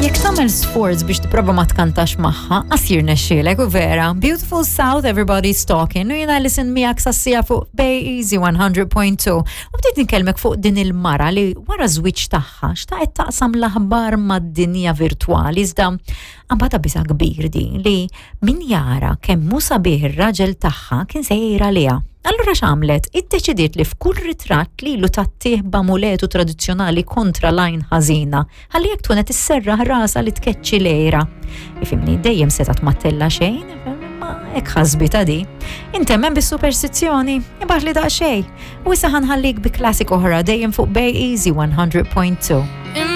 Jekk tagħmel sforz biex tipprova ma tkantax magħha, qas jirnexxielek u vera. Beautiful South, everybody's talking, u jiena listen miegħek sassija fuq Bay Easy 100.2. U bdiet nitkellmek fuq din il-mara li wara żwieġ tagħha xtaqet taqsam l-aħbar mad-dinja virtwali iżda għambata biża' kbir din li min jara kemm hu sabiħ ir-raġel tagħha kien se jgħir għaliha. Allura x'għamlet? Iddeċidiet li f'kull ritratt lilu tattih b'amuletu tradizzjonali kontra l-għajn ħażina, ħalli jekk tkun qed isserraħ rasha li tkeċċi l-għira. Ifimni, dejjem setgħet ma ttella' xejn, imma hekk ħasbitha di. Intemmen bis-superstizzjoni, ibgħatli daqsxejn. U issa ħa nħallik bi classic oħra dejjem fuq Bay Easy 100.2.